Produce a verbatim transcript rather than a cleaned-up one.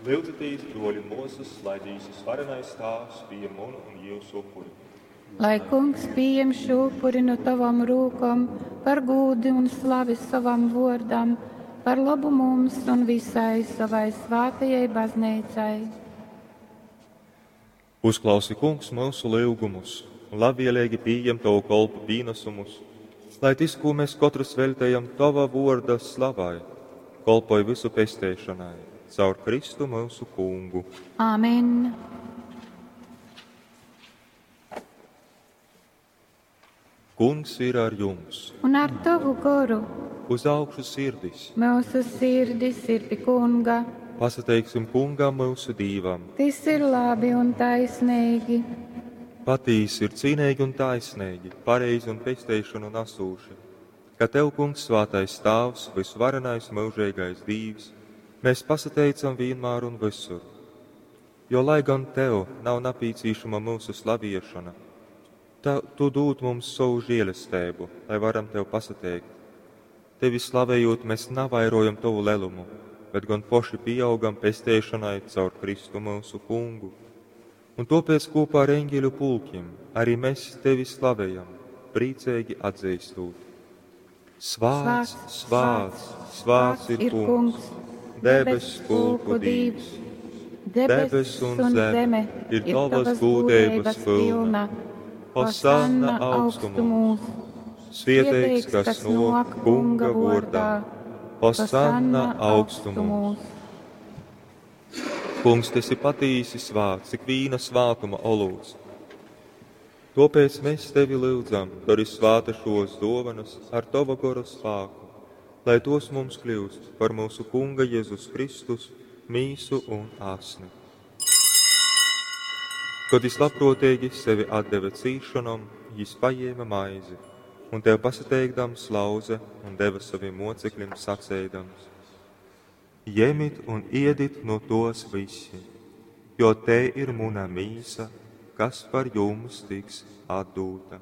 Lyudzitīs, bruoļi un muosys, lai Dīvs Varenais Tāvs pījem munu un jiusu upuri. Lai Kungs pījem šū upuri nu tovom rūkom par gūdu un slavi sovam vuordam, par lobu mums un visai sovai svātajai bazneicai. Uzklausi, Kungs, myusu lyugumus un labvieleigi pījem tovu kolpu pīnasumus, lai tys, kū mēs kotrys veļtejam tova vuorda slavai, kolpoj vysu pesteišonai, caur Kristu myusu Kungu. Āmen! Kungs ir ar jums! Un ar tovu goru Uz augšu sirdis! mūsu sirdis ir pi Kunga. Pasateiksim Kungam myusu Dīvam! Tys ir labi un taisnīgi. Patīsi ir cīneigi un taisneigi, pareizi un pesteišonu nasūši, ka Tev, Kungs, svātais Tāvs, vysvarenais myužeigais Dīvs, mēs pasateicam vienmēr un visur. Jo, lai gan Tev nav napīcīšama mūsu slaviešana, ta, Tu dūd mums savu žēlestību, lai varam Tev pasateikt. Tevi slavējot, mēs navairojam Tavu lelumu, bet gan poši pieaugam pesteišanai caur Kristu mūsu Kungu. Un topēc kopā ar eņģeļu pulkiem arī mēs Tevi slavējam, priecīgi atzīstot. Svāts, svāts, svāts ir Kungs, debes pulku Dīvs. Debes un zeme ir tavas gūdeibas pilna. Hosanna augstumos! Svieteigs, kas nok Kunga vordā. Hosanna augstumos! Kungs, tu esi patīsi svāts, cik vīna svātuma olūts. Topēc mēs tevi lūdzam, dari svāta šos dovanas ar tava gora spāku, lai tos mums kļūst par mūsu Kunga Jēzus Kristus mīsu un asni. Kad jis labprātīgi sevi atdeva cīšanom, jis paņēma maizi un tev pasateikdams lauze un deva saviem mocekļiem sacēdams: Ņemit un iedit no tos visi, jo te ir muna mīsa, kas par jums tiks atdūta.